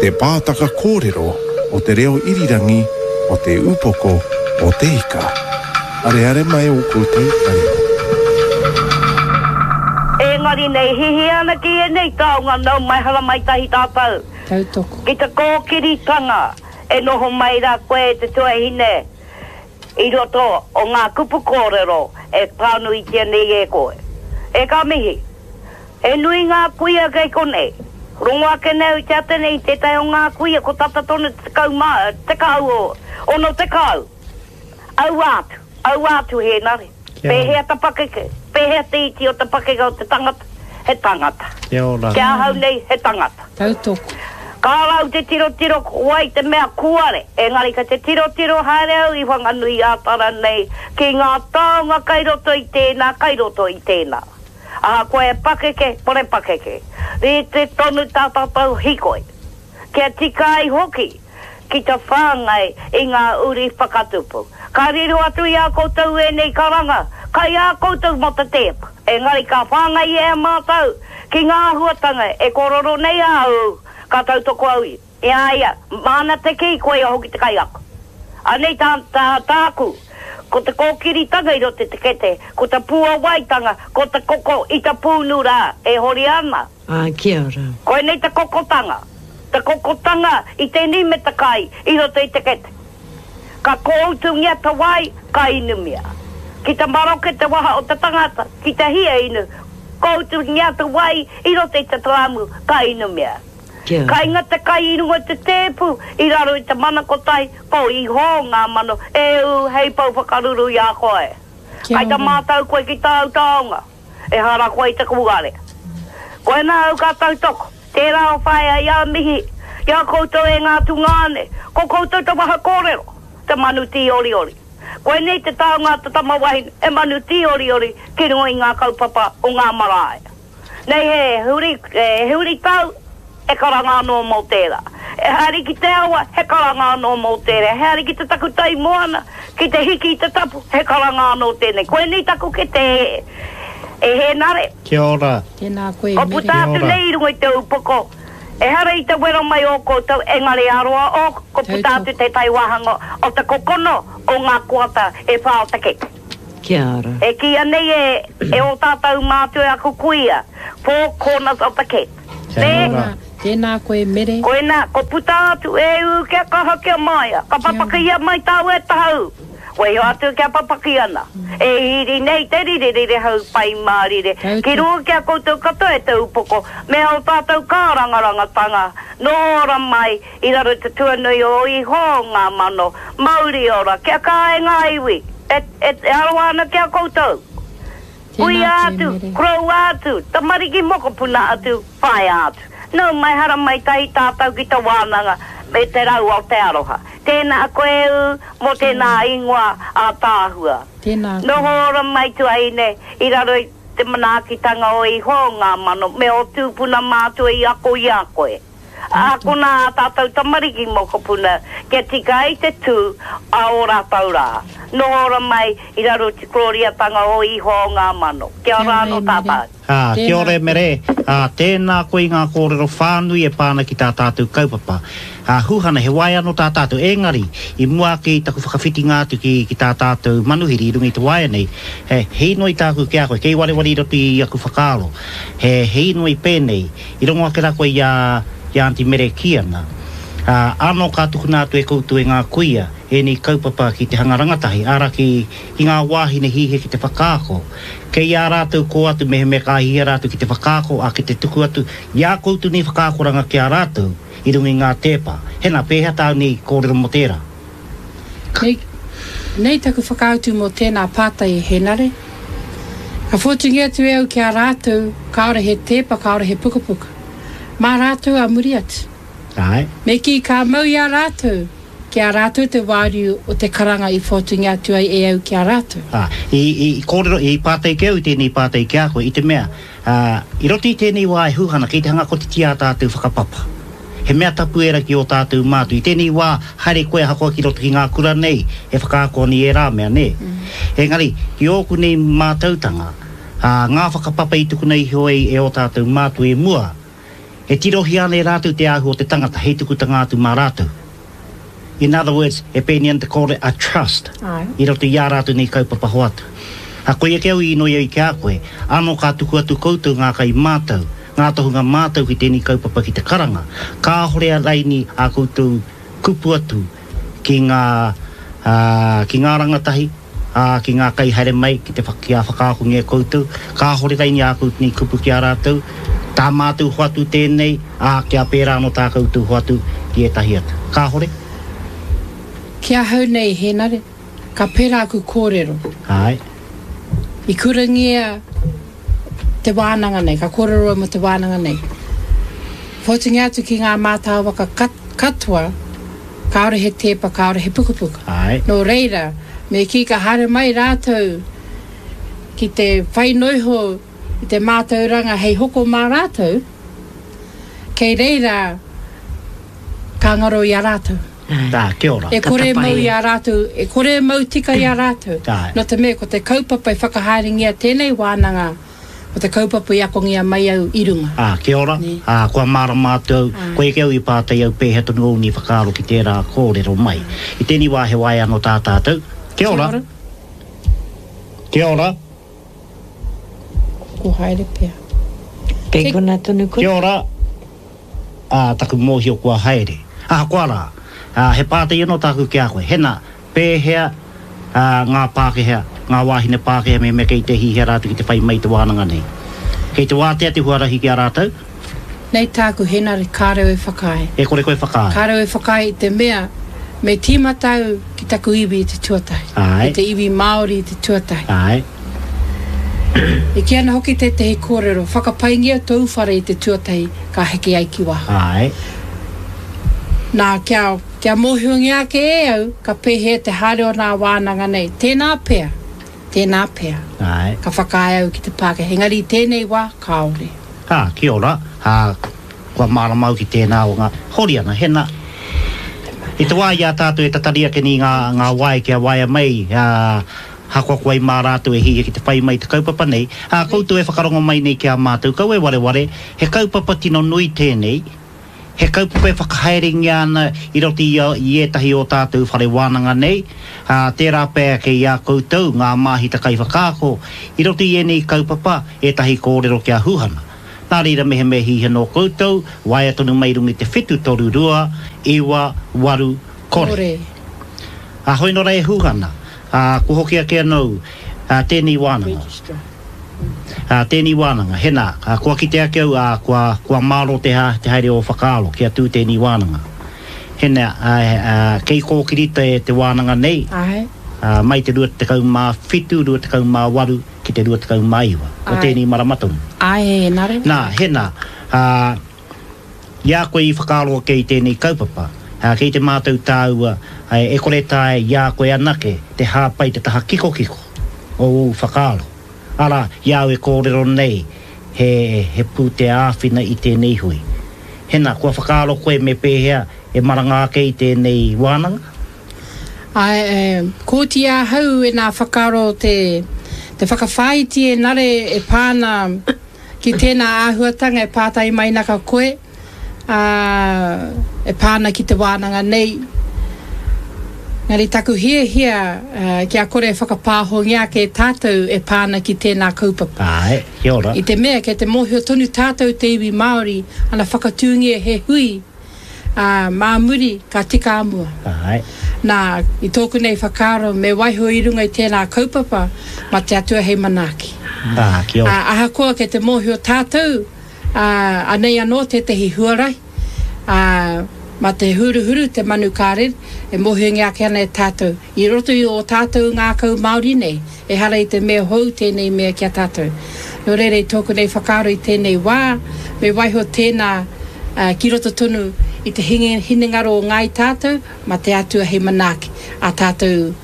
Te pātaka kōrero o te reo irirangi o Te Upoko o Te Ika. Areare mai ō koutou taringa. Engari nei hihi ana ki ēnei taonga nau mai haramai tahi tātou. Tautoko. Ki te kōkiritanga e noho mai rā koe e te tuahine i roto o ngā kupu kōrero e pānuitia nei e koe. E ka mihi. He nui ngā kuia kei konei. Rongo ake nei au i te ata nei i tētahi o ngā kuia ko tata tonu te 10, tekau o, 60. Aua atu, aua atu Hēnare. Pēhea te pakeke, pēhea te iti o te pakeke o te tangata? He tangata. Kia ora. Ki ahau nei, he tangata. Tautoko. Kāra au te tirotiro ko wai te mea kūare, engari kei te tirotiro haere au i Whanganui-ā-Tara nei ki ngā taonga kai roto i tēnā, kai roto i tēnā. Ahakoa e pakeke, kore pakeke, rite tonu tā tātou hīkoi. Kia tika ai hoki ki te whāngai i ngā uri whakatupu. Ka riro atu i a koutou ēnei karanga, kai a koutou mō te tēpu, engari ka whāngai e mātou ki ngā āhuatanga e kōrero nei a au, ka tautoko au i a ia, māna te kī, koia hoki te kaiako. Anei tā, tā, tāku, ko te kōkiritanga i roto i te kete, ko te puawaitanga, ko te koko i te pūnu rā e hori ana. Ā, kia ora. Koinei te kokotanga, te kokotanga i tēnei me te kai i roto i te kete. Ka kōutungia te wai, ka inumia. Ki te maroke te waha o te tangata, ki te hia inu, kōutungia te wai i roto i te tarāmu, ka inumia. Kia ora. Kainga te kai i runga i te tēpu, i raro i te mana kotahi, ko Iho ngā mano e ū hei pou whakaruru i a koe. Kia Kai te ora. mātau koe ki tāu taonga. Ehara koe i te kūare. Koinā au ka tautoko. Tērā o whaea i a mihi ki a koutou e ngā tungāne, ko koutou te waha kōrero, te manu tīoriori. Koinei te taonga a te tama wahine, he manu tīoriori ki runga i ngā kaupapa o ngā marae. Nei he huri, he huritau, he karanga anō mō tērā. He haere ki te awa, he karanga anō mō tērā. He haere ki te takutai moana, ki te hiki i te tapu, he karanga anō tēnei. Koinei taku kete e Hēnare. Kia ora. Tēnā koe, Kua Mere. puta atu nei i runga i te upoko, ehara i te wero mai ō koutou, engari aroa ō, kua puta atu tētahi wāhanga o te kokono o ngā koata e whā o te kete. Kia ora. E kīia nei e, e ō tātou mātua e aku kuia, four corners of the kete. Kia Nē? ora. Tēnā koe, Mere. Koinā, ko puta atu, e ū, kia kaha, kia māia. Ka papakia mai tāu e tahau. Waiho atu kia papaki ana. E hīri nei te rire rire hau pai mārire. Ki runga ki a koutou katoa e te upoko, me ō tātou kārangarangatanga, noho ora mai i raro i te tuanui o Iho ngā mano, mauri ora, kia kā e ngā iwi, e, e, e aroha ana ki a koutou. Kuia atu, koroua atu, tamariki mokopuna atu, whaea atu. Nau mai haramai tahi tātou ki te wānanga me te rau o te aroha. Tēnā koe ū mō tēnā ingoa ātaahua. Noho ora mai tuahine i raro i te manaakitanga o Iho ngā mano me ō tūpuna mātua i ako i a koe. Ākona ā tātou tamariki mokopuna kia tika ai te tū a ō rātou rā. Noho ora mai i raro i te korōriatanga o Ihoa o ngā mano. Kia ora anō tātou. Ā, kia ora e Mere, ā, tēnā koe i ngā kōrero whānui e pā ana ki tā tātou kaupapa. Ā, Huhana, he waea anō tā tātou, engari, i mua ake i taku whakawhitinga atu ki, ki tā tātou manuhiri i runga i te waea nei, he, he inoi tāku ki a koe, kei wareware i roto i aku whakaaro, he, he inoi pēnei, I rongo ake rā koe i a, i a Aunty Mere e kī ana, ā, ānō ka tukuna atu e koutou e ngā kuia ēnei kaupapa ki te hanga rangatahi, āra ki, ki ngā wāhine hihia ki te whakaako. Kei a rātou kō atu mehemea ka hihia rātou ki te whakaako, ā, ki te tuku atu i ā koutou nei whakaakoranga ki a rātou i runga i ngā tēpa. Hena, pēhea tāu nei kōrero mō tērā? Nei, nei taku whakautu mō tēnā pātai e Henare. Ka whōtungia atu e au ki a rātou, kāore he tēpa, kāore he pukapuka. Mā rātou a muri atu. Āe. Me kī ka mau i a rātou, ki a rātou te wāriu o te karanga i whōtungia atu ai e au ki a rātou. Ā, i, i, i kōrero, i pātai ki au i tēnei pātai ki a koe, i te mea, ā, i roto i tēnei wā e Huhana, kei te hanga kotiti ā tātou whakapapa. He mea tapu ērā ki ō tātou mātua. I tēnei wā, haere koe ahakoa ki roto ki ngā kura nei, e whakaako ana i ērā mea, nē? Engari, ki ōku nei mātautanga, ā, ngā whakapapa i tukuna iho ai e ō tātou mātua i mua, E tirohia ana e rātou te āhua o te tangata hei tukutanga atu mā rātou. In other words, e pēnei ana te kōrero a trust i roto i ā rātou nei kaupapa hoatu. Ā, koia ake au i inoi ai ki a koe, ano ka tuku atu koutou ngā kai mātau, ngā tohunga mātau ki tēnei kaupapa ki te karanga, kāhore a raini ā koutou kupu atu ki ngā, ā, ki ngā rangatahi, ā, ki ngā kai haere mai ki te, kia whakaakongia koutou, kāhore raini ā koutou nei kupu ki a rātou, tā mātou hoatu tēnei, ā, kia pērā anō tā koutou hoatu ki ētahi atu. Kāhore? Ki ahau nei, Hēnare, ka pērā aku kōrero. Āe. I kurangia te wānanga nei, ka kōrero au mō te wānanga nei. Whotingia atu ki ngā mātāwaka katoa, kāore he tēpa, kāore he pukapuka. Āe. Nō reira, me kī ka haere mai rātou ki te whai noiho i te mātauranga hei hoko mā rātou, kei reira ka ngaro i a rātou. Ā, kia ora. E kore e mau i a rātou, e kore e mau tika i a rātou. Āe. Nō te mea ko te kaupapa i whakahaerengia tēnei wānanga, ko te kaupapa i akongia mai au i runga. Ā, kia ora. Nē. Ā, kua mārama atu au, Āe. koia kē au i pātai au pēhea tonu ōu nei whakaaro ki tērā kōrero mai. I tēnei wā he waea anō tā tātou. Kia ora. Kia ora. Kia ora. Ko haere pea. Kei kona tonu koe. Kia ora. Ā, taku mōhio kua haere. Ahakoa rā, ā, he pātai anō tāku ki a koe. Hena, pēhea, ā, ngā Pākehā, ngā wāhine Pākehā mehemea kei te hihia rātou ki te whai mai i te wānanga nei? Kei te wātea te huarahi ki a rātou? Nei tāku, Henare, kāre au e whakaae. E kore koe whakaae? Kāre au e whakaae i te mea, me tīmata au ki taku iwi i te tuatahi. Āe. Ki te iwi Māori i te tuatahi. Āe. E kī ana hoki tētehi kōrero, whakapaingia tōu whare i te tuatahi, ka heke ai ki waho. Āe. Nā, kia, kia mōhiongia ake e au, ka pēhea te haere o nā wānanga nei. Tēnā pea, tēnā pea. Āe. Ka whakaae au ki te Pākehā, engari i tēnei wā, kāore. Ā, kia ora, ā, kua mārama au ki tēnā o ngā, Horiana, hena, i te wā i a tātou e tatari ake nei ngā, ngā wae kia waea mai, ā, hakoa ko wai mā rātou e hiahia ki te whai mai i te kaupapa nei, ā, koutou e whakarongo mai nei ki a mātou, kaua e wareware, he kaupapa tino nui tēnei, He kaupapa e whakahaerengia ana i roto i i ētahi o tātou whare wānanga nei, ā, tērā pea kei a koutou, ngā māhita kaiwhakaako, i roto i ēnei kaupapa, ētahi kōrero kia huhana. Nā reira mehemea hihia nō koutou, waea tonu mai i runga i te 732 9 8 kore. Ā, hoi nō rā e huhana, ā, kua hoki ake anō, ā, tēnei wānanga. Ā, tēnei wānanga, hena, ā, kua kite ake au, ā, kua, kua mārō te, te haere o whakaaro kia tū tēnei wānanga. Hena, ā, ā, kei kōkiri te, te wānanga nei, Āe. ā, mai te 27, 28 ki te 29 o tēnei marama tonu. Āe, nā reira. Nā, hena, ā, i a koe i whakaaro ake i tēnei kaupapa, ā, kei te mātau tāua, ā, e kore taea i a koe anake te hāpai te taha kikokiko o ōu whakaaro. Arā, i a au e kōrero nei, he, he pūtea āwhina i tēnei hui. Hena, kua whakaaro koe me pēhea e maranga ake i tēnei wānanga? Āe, e, kōti ahau e nā whakaaro te, te whakawhāiti e nare e pā ana Ki tēnā āhuatanga e pātai mai naka koe, ā, e pā ana ki te wānanga nei. Engari taku hiahia kia kore e whakapāhongia ake e tātou e pā ana ki tēnā kaupapa. Āe, kia ora. I te mea kei te mōhio tonu tātou te iwi Māori, ana whakatūngia he hui, ā, mā muri ka tika a mua. Āe. Nā, i tōku nei whakaaro me waiho i runga i tēnā kaupapa mā te Atua hei manaaki. Ā, kia ora. Ā, ahakoa kei te mōhio tātou, ā, anei anō tētehi huarahi, ā, mā te huruhuru te manu ka rere, e mōhiongia ake ana e tātou. I roto i ō tātou ngākau Māori nei, ehara i te mea hou tēnei mea ki a tātou. Nō reira, i tōku nei whakaaro i tēnei wā, me waiho tēnā ki roto tonu i te hinengaro o ngāi tātou, mā te Atua hei manaaki ā tātou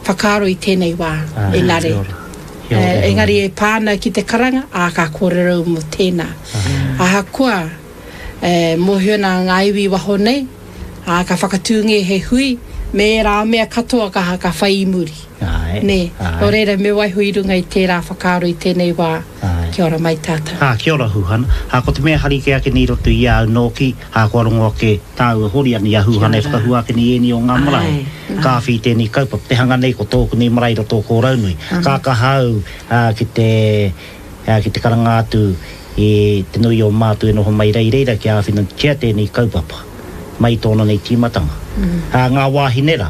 whakaaro i tēnei wā, engari, engari e pā ana ki te karanga, ā, ka kōrero au mō tēnā. Ahakoa, E mōhio ana ngā iwi i waho nei, ā, ka whakatūngia he hui me ērā mea katoa ka, ka whai i muri. Āe, Nē. āe. Nō reira, me waiho i runga i tērā whakaaro i tēnei wā. Āe. Kia ora mai tātou. Ā, kia ora Huhana. Ā, ko te mea hari kē ake nei i roto i a au nōki, ā, kua rongo ake tāua Horiana i a Huhana e whakahua ake nei i ēnei o ngā marae. Ka awhi i tēnei kaupapa. Te hanga nei ko tōku nei marae i roto o Kōraunui. Ka kaha au, ā, ki te, ā, ki te karanga atu i te nui o mātou e noho mai rei reira kia āwhinatia tēnei kaupapa mai i tōna nei tīmatanga. Ā, ngā wāhine rā,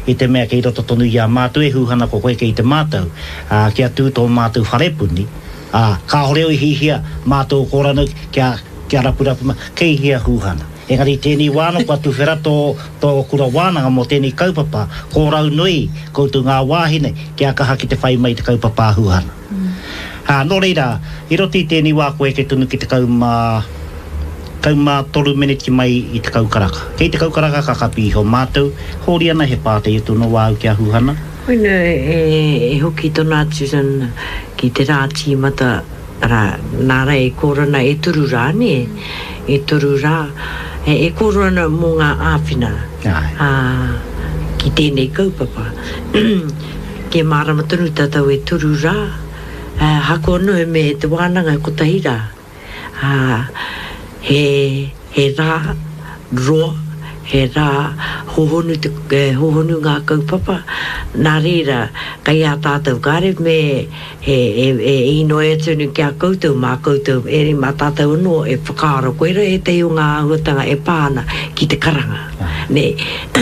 i te mea kei roto tonu i a mātou e hūhana ko koe kei te mātau, ā, kia tū tō mātou wharepuni, ā, kāore au i hihia mātou o Kōranu kia, kia rapurapu mai, kei hea hūhana. Engari i tēnei wā anō kua tuwhera tō, tō kura wānanga mō tēnei kaupapa, kōrau nui koutou ngā wāhine kia kaha ki te whai mai i te kaupapa a Hūhana. Ā, nō reira, i roto i tēnei wā kua eke tonu ki 13 meneti mai i 10 karaka. Kei 10 karaka ka kapi iho mātou, hōri ana he pātai atu anō wāu ki a Huhana. Koina e hoki tona atu ki te rā tīmata, arā, nā rā e kōrero ana e toru rā, nē? E toru rā, e kōrero ana mō ngā āwhina, ā, ki tēnei kaupapa. Kia mārama tonu tātou e toru rā, ahakoa noa me te wānanga kotahi rā, ā, he, he rā roa, he rā hohonu te, hohonu ngā kaupapa, nā reira, kei a tātou kāre me e, e, e īnoi atu ana ki a koutou, mā koutou, ēngari mā tātou anō e whakaaro, koirā ētahi o ngā āhuatanga e pā ana ki te karanga, nē,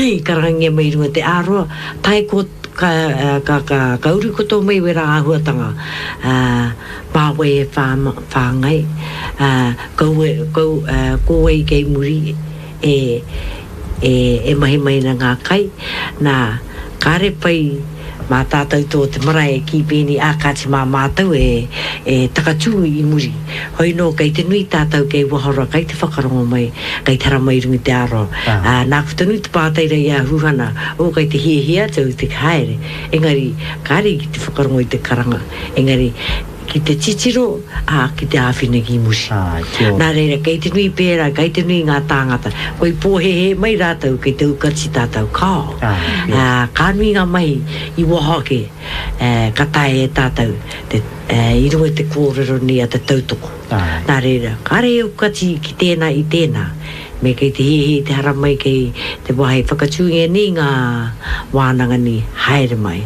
i karangangia mai i runga i te āroa, tae ko Ka, ka, ka, ka uru ko tō mai wērā āhuatanga, ā, mā wai e whā, whāngai, ā, kaua, kau, ā, ko wai kei muri e, e, e mahi mai ana ngā kai, nā, kāre pai mā tātou tō te marae e kī pēnei, ā, kāti mā mātou e, e takatū i muri. Hoi nō, kei te nui tātou kei waho rā, kei te whakarongo mai, kei te haramai i runga i te aro. Ā, nāku tonu te pātai rā i a Huhana, oh, kei te hiahia atu au te haere, engari, kāre ki te whakarongo i te karanga, engari, ki te titiro, ā, ki te āwhina ki muri. Nā reira, kei te nui pērā, kei te nui ngā tāngata, koi pōhēhē mai rātou kei te aukati tātou, kāo. Ā, ka nui ngā mahi i waho ake, ā, ka taea e tātou te, ā, i runga i te kōrero nei a te tautoko. Nā reira, kāre e aukati ki tēnā i tēnā, Me kei te hiahia i te haramai kei te wā hei whakatūngia nei ngā wānanga nei, haere mai.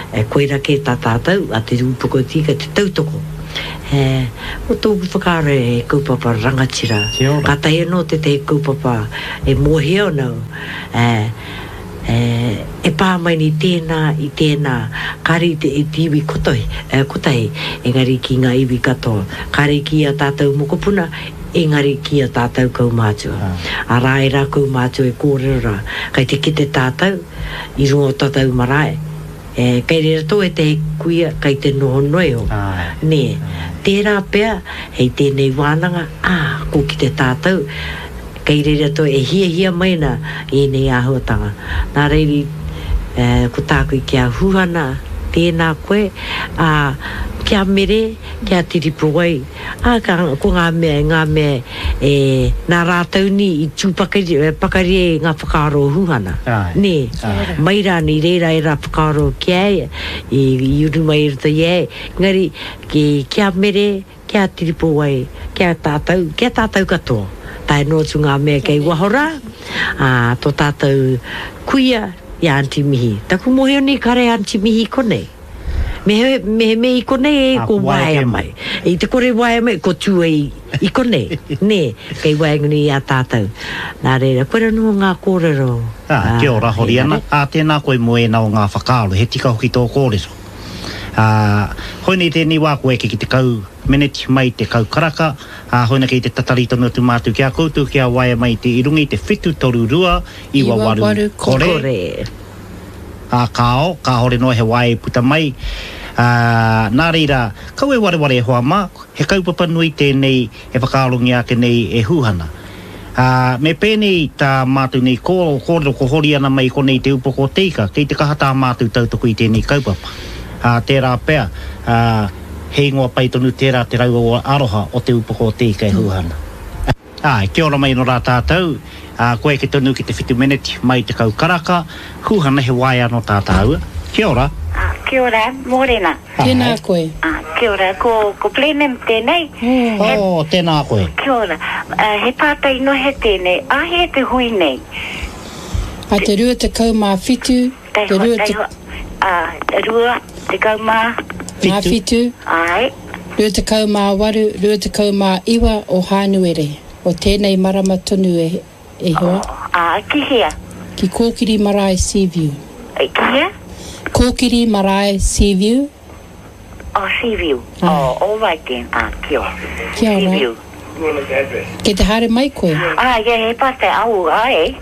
E, koira kē tā tātou, a Te Rūpoko Tika, te tautoko. E, ko tōku whakaaro he kaupapa rangatira. Kia ora. Kātahi anō tētahi kaupapa e mōhio ana au, e, e, e pā mai nei tēnā i tēnā, kāre i te, i te iwi kotahi, e, kotahi, engari ki ngā iwi katoa. Kāre ki ā tātou mokopuna, Engari ki a tātou kaumātua. Arā ērā kaumātua e kōrero rā, kei te kite tātou i runga o tātou marae, e, kei reira tō ētehi kuia kei te noho noa iho, nē. Tērā pea, hei tēnei wānanga, ā, ko kite tātou, kei reira tō e hiahia mai ana ēnei āhuatanga. Nā reira, e, ko tāku ki a Huhana, tēnā koe, ā, kia mere, kia tiripowai, Ā, ka, ko ngā mea, ngā mea e, nā rātou ni i tū pakari, pakari ai ngā whakaaro o Huhana. Āe. Nē. Āe. Mai rānei, i reira ērā whakaaro ki a ia, i, i uru mai i roto i a ia, engari, ki, ki a Mere, ki a Tiripowai, ki a tātou, ki a tātou katoa, tae noa atu ngā mea kei waho rā, ā, tō tātou kuia i a Aunty Mihi. Taku mōhio nei kāre a Aunty Mihi i konei. Me he me i konei e ko waea mai. I te kore waea mai, ko tū ai i konei, nē, kei waenganui i a tātou. Nā reira, koira noa ngā kōrero. Ā, kia ora, Horiana. Ā, tēnā koe mō ēnā o ngā whakaaro, he tika hoki tō kōrero. Ā, hoinei tēnei wā kua eke ki 10 meneti mai 10 karaka, ā, hoina kei te tatari tonu atu mātou ki a koutou kia waea mai te i runga i te 7 3 2 9 8 kore. Ā kāo, kāore noa he wae i puta mai, ā, nā reira, kaua e wareware e hoa mā, he kaupapa nui tēnei e whakaarongia ake nei e Hūhana. Ā, me pēnei tā mātou nei kō, kōrero ko hori ana mai i konei te upoko o te ika, kei te kaha tā mātou tautoko i tēnei kaupapa. Ā, tērā pea, ā, he ingoa pai tonu tērā te rau aroha o te upoko o te ika e Hūhana. Āe, kia ora mai anō rā tātou, ā, kua eke tonu ki te whitu meneti mai 10 karaka, Huhana he waea anō tā tāua. Kia ora. Kia ora, mōrena. Tēnā koe. Ah, kia ora, ko, ko Blenheim tēnei. He... Oh, tēnā koe. Kia ora. Uh, he pātai nohe tēnei. Āhea te hui nei? A te 27, te rua te... Ā, 20. Mā whitu. Āe. 28, 29 o Hānuere, o tēnei marama tonu e, e hoa. Ā, ki hea? Ki Kōkiri Marae Seaview. Ki hea? Kōkiri Marae Seaview. Oh, Seaview. Oh, all right then. Ah, kia ora. Kia ora. Seaview. Kei te haere mai koe? Ah, yeah, he pātai. Au, āe.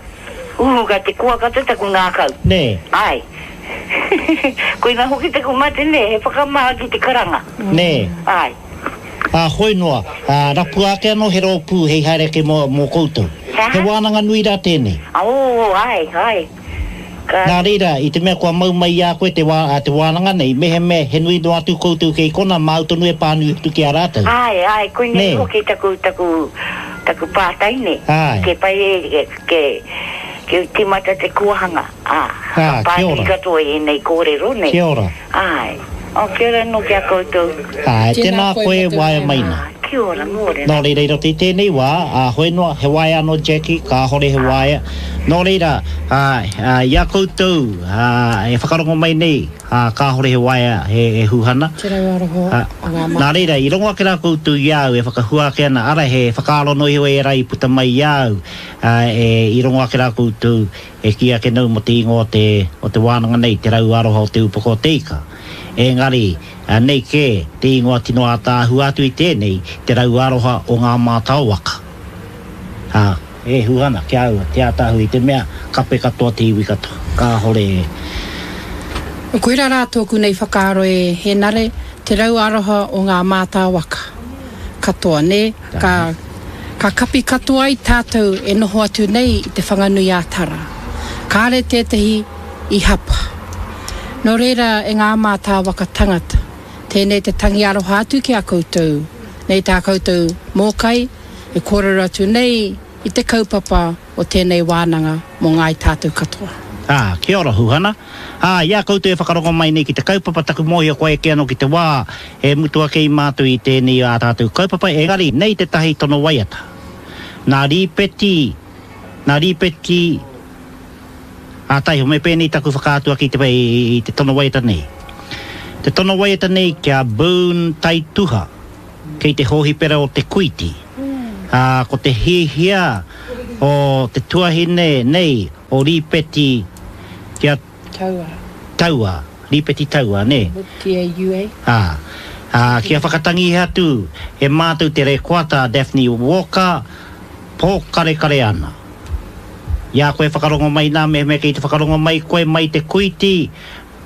Ū, ka te koa katoa taku ngākau. Nē. Āe. Koina hoki taku mate, nē, he whakamā ki te karanga. Nē. Āe. Ā, hoi noa, ā, rapua ake anō he rōpū hei haere ake mō, mō koutou. He aha? He wānanga nui rā tēnei. Ō, āe, āe. Ka. Nā reira, i te mea kua mau mai i a koe te wā, te wānanga nei, mehemea he nui noa atu koutou kei konā, māu tonu e pānui atu ki a rātou. Āe, āe, koinei Nē. hoki taku, taku, taku pātai, nē. Āe. Ke pai e, ke, ke tīmata te kōhanga, ā, Ā, ka kia pānui ora. katoa i ēnei kōrero, nē. Kia ora. Āe. Oh, kia ora anō ki a koutou. Āe, tēnā koe e waea mai nā. Ā, kia ora, mōrena. Nō reira, i roto i tēnei wā, ā, hoi noa, he waea anō Jackie, kāhore he waea. Nō reira, ā, ā, i a koutou, ā, e whakarongo mai nei, ā, kāhore he waea, he, he huhana. Te rau aroha Ā, o ngā nā mātua. reira, i rongo ake rā koutou i a au e whakahua ake ana, arā, he whakaaro noa iho ērā i puta mai i a au, ā, e, i rongo ake rā koutou, E kī ake nau mō te ingoa o te, o te wānanga nei, Te Rau Aroha o Te Upoko o Te Ika. Engari, nei kē te ingoa tino ātaahua atu i tēnei, Te Rau Aroha o Ngā Mātao Waka. Ā, e hua ana ki a au te ātaahua i te mea, kape katoa te iwi katoa. Kāhore e. Koirā rā tōku nei whakaaro e Hēnare, Te Rau Aroha o Ngā Mātao Waka. Katoa, nē? Ka, ka kapi katoa ai tātou e noho atu nei i Te Whanganui-ā-Tara. Kāre tētahi i hapa. Nō reira e ngā mātāwaka tangata, tēnei te tangi aroha atu ki a koutou, nei tā koutou mōkai e kōrero atu nei i te kaupapa o tēnei wānanga mō ngāi tātou katoa. Ā, kia ora Huhana. Ā, i a koutou e whakarongo mai nei ki te kaupapa, taku mōhio kua eke anō ki te wā e mutu ake i mātou i tēnei ā tātou kaupapa, engari nei tētahi tono waiata. Nā Rīpeti, nā Rīpeti, ā, taiho, me pēnei taku whakaatu ake i te, i te tono waiata nei. Te tono waiata nei ki a Boone Taituha. Kei te hōhipera o Te Kuiti. Ā, ko te hiahia o te tuahine nei o Rīpeti kia. Taua. Taua, Rīpeti Taua, nē? T-A-U-A. Ā, ā, kia whakatangihia atu e mātou te rekoata a Daphne Walker, pōkarekare ana. I a koe whakarongo mai nā, mehemea kei te whakarongo mai koe mai Te Kuiti,